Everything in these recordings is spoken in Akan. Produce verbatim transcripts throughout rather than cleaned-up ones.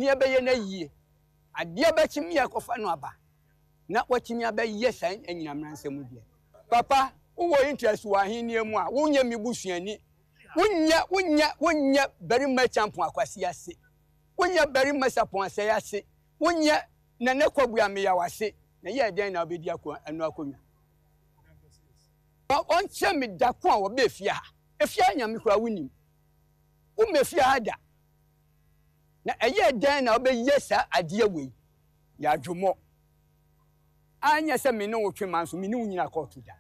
ne yɛbɛyɛ no ayie. Adeɛ bɛkye me akɔfa no aba na watumi abɛyɛ saa anyinam mmaransɛm deɛ. Papa, wowɔ interest wɔ ahennie mu a, wonyɛ me busuani. Wonyɛ, wonyɛ, wonyɛ barima Kyampɔn Akwasi ase. Wonyɛ barima Sapɔn Asɛe ase. Wonyɛ Nana Kwabu Ameyaw ase. Na yɛɛ dɛn na wobɛdi ako, ɛno akonnwa? Ɔnkyerɛ me da ko a wɔbɛɛ fie ha. Efie ha Nyame koraa wonim. Wommɛ fie ha da. Na ɛyɛɛ dɛn na wobɛyɛ saa adeɛ wei? Yɛ adwomɔ. Anyɛ sɛ me ne wo twe ma nso me ne wo nyina kɔɔto da.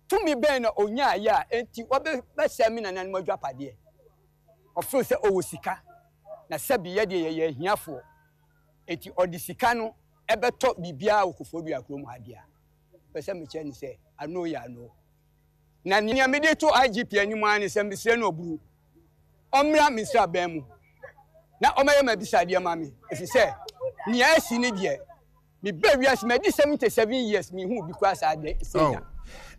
Tumi bɛn na ɔnyaeɛ a enti wɔbɛsɛe me nananom adwapadeɛ? Ɔfeel sɛ ɔwɔ sika, na sɛbi yɛ deɛ yɛyɛ ahiafoɔ, enti ɔde sika no bɛtɔ biribiara wɔ Koforidua kurom ha deɛ a, mepɛ sɛ mekyerɛ no sɛ ano yɛ ano. Na nea mede to I G P anim ara ne sɛ mesrɛ no ɔburu, ɔmmra me nsraban mu na ɔmmɛyɛ m'abisadeɛ ma me, ɛfiri sɛ nea asi ne deɛ, mebaa wiase madi seventy-seven years, menhuu bi koraa saa de sei da. Oh.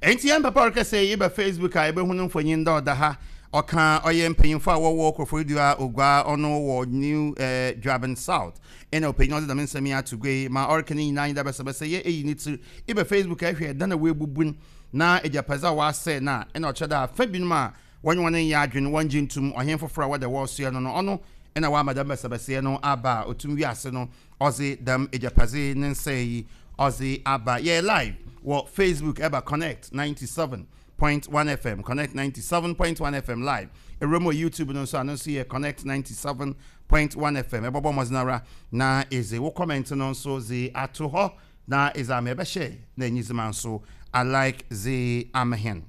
Enti yɛn papa ɔrekasa yi, ba Facebook a yɛbɛhu no mfonyin dɛ ɔda ha. Ɔka ɔyɛ mpanyimfo a wɔwɔ Koforidua Ogua, ɔno wɔ New eh, Dwaben South. Ɛna ɔpanyin ɔde dɛm nsɛm yi ato gua yi ma ɔreka ne nyinaa nyinaa bɛsɛbɛsɛ yɛ eyi ne tsir. Iba Facebook a ɛhwɛ ɛdan a wɔabubu no na agyapadze a wɔasɛe no a, ɛna ɔkyerɛ dɛ afa binom a wɔnye wɔn nyɛ adwene, wɔngye ntum ɔhen foforɔ a wɔda wɔresoɛ no no ɔno ɛna wɔama dɛm bɛsɛbɛsɛɛ no aba a otum wiase no ɔdze dɛm agyapadze ne nsɛe yi ɔdze aba. Yɛ live wɔ Facebook, ɛba Connect ninety-seven point one F M, Connect ninety-seven point one F M live. Ɛwura mu wɔ YouTube no nso ano nso yɛ Connect ninety-seven point one F M. Ɛbɔbɔ mmɔden ara na ɛdze wo comment no nso dze ato hɔ na ɛdze ama ɛbɛhyɛ na enyizima nso alike dze ama hɛn.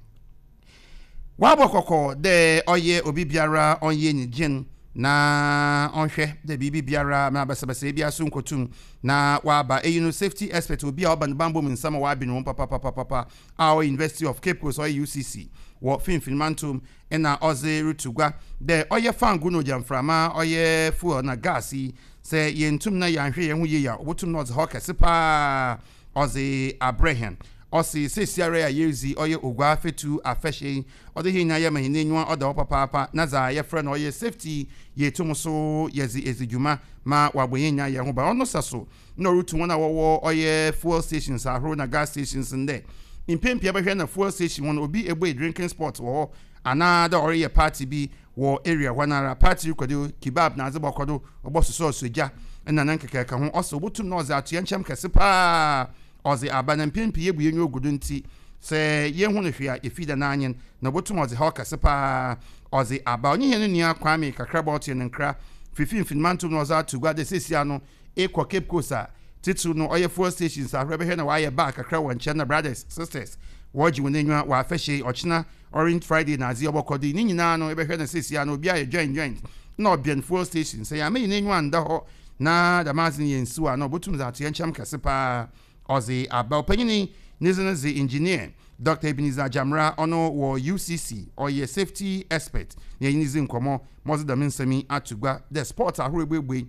Wabɔ kɔkɔ dɛ ɔyɛ obi biara ɔnyɛ nyigyen na ɔnhwɛ dɛ biribi biara na basabasa bi aso nkotum na waba. Eyi no, safety expert, obi a ɔba ne bambɔ mu nsɛm a wabi ne ho papapapapa a ɔyɛ University of Cape Coast, ɔyɛ U C C wɔ finfin mantom, ɛna ɔdze reto gua dɛ ɔyɛ fango no ogyamframa, ɔyɛ fuel na gas yi, sɛ yɛntum na yɛanhwɛ yɛn ho yie a, obotum na ɔdze hɔ kɛse paa ɔdze abrɛ hɛn. Ɔsi seesiara a yɛrezi ɔyɛ Ogua Fetu afɛhyɛ yi, ɔde hɛn nyinaa yɛ ma hɛn enyiwa ɔda hɔ papaapa na dza yɛfrɛ no ɔyɛ safety yɛtum so yɛdze edzi dwuma ma wabɔ yɛn nyinaa yɛn ho ban. Ɔno sɛ so na ɔretu wɔn a wɔwɔ ɔyɛ fuel stations ahorow na gas stations ndɛ mpempia bɛhwɛ na fuel station hɔ no obi ebue drinking spot wɔ hɔ anaa dɛ ɔreyɛ party bi wɔ area hɔ nara, party rekɔdo, kebab na adze bɔkɔ do, ɔbɔ sosɔɔso gya ɛna ne nkekɛka ho. Ɔsɛ obotum na ɔdze atoyɛ nkyɛm kɛse paa ɔdze aba na mpempie yɛbu yɛn ogu do, nti sɛ yɛhu no hwee a yɛfi da n'anyen na obotum ɔdze haw kɛse paa ɔdze aba. Ɔnye hɛn nua Kwame Kakraba ɔte ne nkra fifi mantom na ɔdze ato gua de sesia no ekɔ Cape Coast a, titiri no ɔyɛ fuel stations ahorow, bɛhwɛ na wayɛ bar kakra wɔ nkyɛn na brothers, sisters wɔregye wɔn anyiwa wɔ afɛhyɛ ɔkyena Orange Friday na adze ɔbɔkɔ do ne nyinaa no, ebɛhwɛ na sesia no obi ayɛ joint joint na ɔbɛn fuel station. Sɛ yɛama yɛn anyiwa nda hɔ na dɛm adze no yɛn nsiw a, na ɔbɛtum dze ato yɛn nkyɛn kɛse paa ɔdze aba. Ɔpanyini ne dze no dze Engineer Doctor Ebenezer Jamra, ɔno wɔ U C C, ɔyɛ safety expert, na yɛn dzi nkɔmɔ ma ɔdze dɛm nsɛm yi ato gua dɛ spot ahorow ebuebue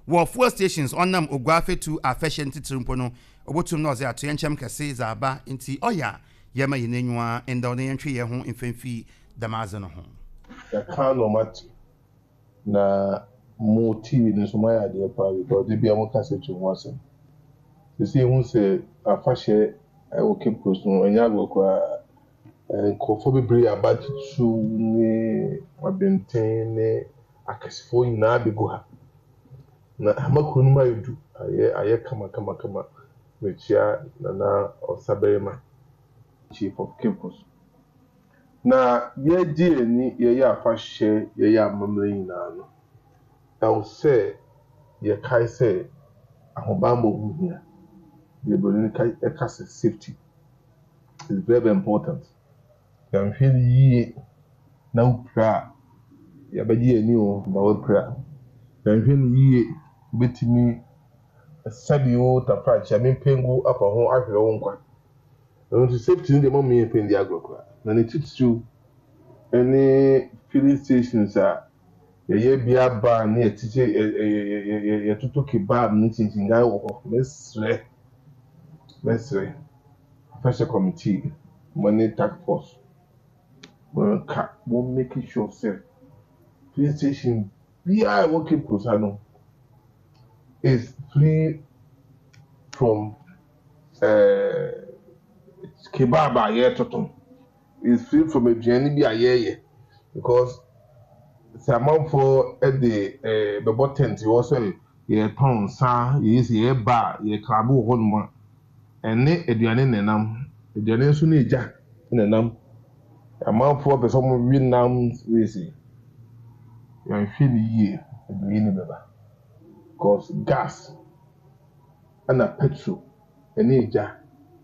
wɔ fuel stations ɔnam Ogua Afɛtu afɛhyɛ ntitiri mpo no, obotum na ɔdze ato yɛn nkyɛn kɛse dze aba, nti ɔyɛ a yɛma yɛn anyiwa nda ɔne yɛntwe yɛn ho mfɛmfi dɛm adze no ho. Yɛka na ɔmate na mo T V no nso moayɛ adeɛ paa because de bia moka sɛ to ho asɛm sɛsɛ ehu sɛ afahyɛ ɛwɔ Cape Coast no ɛnyɛ agorɔ koraa. Nkurɔfoɔ bebree aba, titiriw ne abɛnten ne akɛsefoɔ nyinaa abɛgu ha na ama kuro no mu ayɛ du, ayɛ ayɛ kamakamakama. Mekyia Nana Ɔsabarima, Chief of Cape Coast, na yɛgye yɛn ani, yɛyɛ afahyɛ, yɛyɛ amammerɛ nyinaa no, ɛwɔ sɛ yɛkae sɛ ahobammɔ ho hia. Deɛ buroni ka ɛka sɛ safety is very, very important. Yɛnhwɛ no yie na wopira a, yɛbɛgye yɛn ani o, na wapira. Yɛnhwɛ no yie, wobɛtumi sɛbi wo tafrakyɛ mempengu afa ho ahwere wo nkwa. Ɛno nti safety no deɛ, mɔmma yɛmfa ndi agorɔ koraa, na ne titiriw ne filling stations a yɛyɛ bia bar ne yɛtete yɛtoto kebab ne kyinkyinngan wɔ hɔ. Mɛsrɛ mɛsrɛ afahyɛ committee mo ne task force, monka mo make sure sɛ filling station biara a ɛwɔ Cape Coast ha no is free from uh, kebab a yɛretoto, is free from aduane bi a yɛreyɛ, because sɛ amanfoɔ de ɛɛ bɛbɔ tent wɔ sɛ yɛtɔn nsa, yɛyɛ sɛ yɛreba a yɛ club wɔ hɔnom a, ɛne aduane na ɛnam, aduane nso ne egya na ɛnam. Amanfoɔ pɛ sɛ wɔwe nam wei si yɛnhwɛ ne yie, aduane ne bɛba, because gas ɛna petrol ɛne egya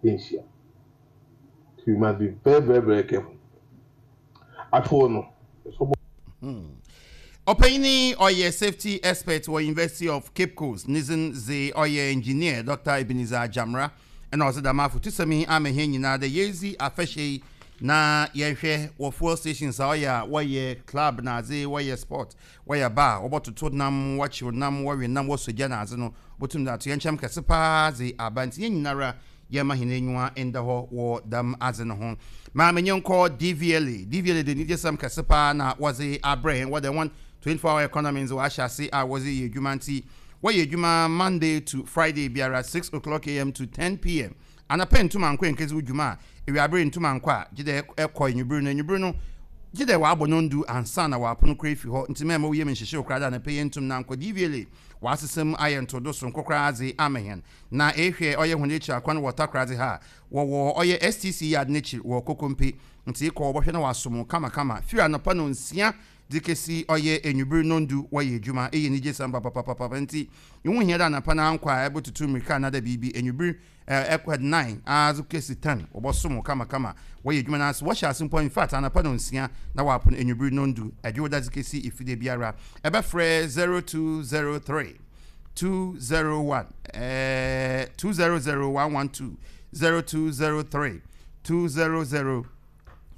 nhyia. So you must be very, very, very careful. Afɔ no ɛsɛ. Ɔpanyini ɔyɛ safety expert wɔ University of Cape Coast, ne dzin dze ɔyɛ Engineer Doctor Ebenezer Jamra, ɛna ɔdze dɛm afotusɛm yi ama hɛn nyinaa dɛ yɛdzi afahyɛ yi na yɛhwɛ wɔ fuel stations a ɔyɛ a wɔyɛ club na adze, wɔyɛ sport, wɔyɛ bar, wɔbɔtoto nam, wɔkyew nam, wɔwe nam, wɔsɔ gya na adze no, wɔtum de ato yɛn nkyɛn kɛse paa dze aba. Nti yɛn nyinara yɛma hɛn enyiwa nda hɔ wɔ dɛm adze no ho. Maame nye nkɔ D V L A. D V L A de nigyesɛm kɛse paa na wɔdze abrɛ hɛn. Wɔde wɔn twenty-four hour economy nso wɔahyɛ ase a wɔdze yɛ adwuma, nti wɔyɛ adwuma Monday to Friday biara six o'clock a m to ten p m. Anapɛ ntoma nkɔ nkezi wo dwuma a, ewiabere ntoma nkɔ a, gye dɛ ɛkɔ enwubere no, enwubere no gye dɛ wɔabɔ no ndu ansa na wɔapono kora efi hɔ. Nti mɛma woyɛ mu nhyehyɛ okora da anapɛ yɛ ntum na nkɔ. D V L A wɔasesɛm ayɛ ntodo soronko koraa dze ama hɛn, na ehwɛ ɔyɛ hɔn ekyir akwan wɔ Takoradi ha a, wɔwɔ ɔyɛ S T C yard n'ekyir wɔ Kokompe. Nti kɔ wɔbɛhwɛ na wɔasom kamakama firi anɔpa no nsia de kesi ɔyɛ enwubere no ndu. Wɔyɛ adwuma, ɛyɛ anigye sɛm papapapapa. Nti ihu hia dɛ anɔpa no ankɔ a ɛbɛtutu mmirika anada biribi. Enwubere ɛkɔ nine adze kesi ten, wɔbɔsom kamakama. Wɔyɛ adwuma no ase, wɔhyɛ ase mpo in fact anɔpa no nsia na wɔapono enwubere no ndu. Ɛdwo da dze kesi efide biara, ɛbɛfrɛ zero two zero three two zero one eh, two zero zero one one two, zero two zero three two zero zero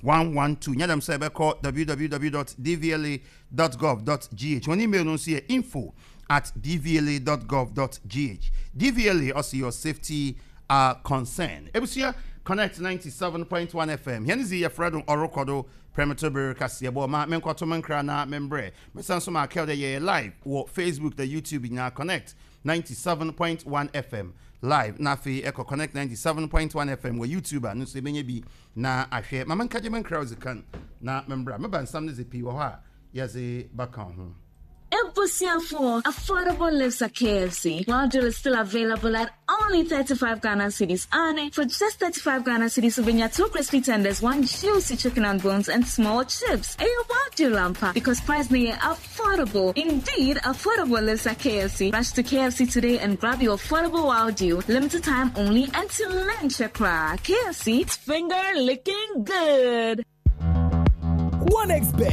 one one two. Nyɛ dɛm sɛ ɛbɛkɔ w w w dot d v l a dot gov dot g h. Wɔn email no nso yɛ info at d v l a dot gov dot g h. D V L A ɔsi your safety uh, concern. Ebusua, Connect ninety-seven point one F M, yɛn zi yɛfrɛ no ɔrekɔ do prɛmɛtɔ bere kaseɛbɔ. Ma menkɔto me nkra na membrɛ mesan so ma akɛw dɛ yɛyɛ live wɔ Facebook na YouTube nyinaa, Connect ninety-seven point one F M live, na afei ɛkɔ Connect ninety-seven point one F M wɔ YouTube a no nso ɛbɛnya bi na ahwɛ. Ma menkagye me nkra ɔdze kan na membra meba. Nsam no dze pii wɔ hɔ a yɛdze baka ho. Ebusuafo, affordable lives at K F C. Wild Deal is still available at only thirty-five Ghana cedis. And for just thirty-five Ghana cedis, you get two crispy tenders, one juicy chicken and bones, and small chips. A Wild Deal lampa because price near affordable. Indeed, affordable lives at K F C. Rush to K F C today and grab your affordable Wild Deal. Limited time only until lunch. K F C, it's finger licking good. One X Bet.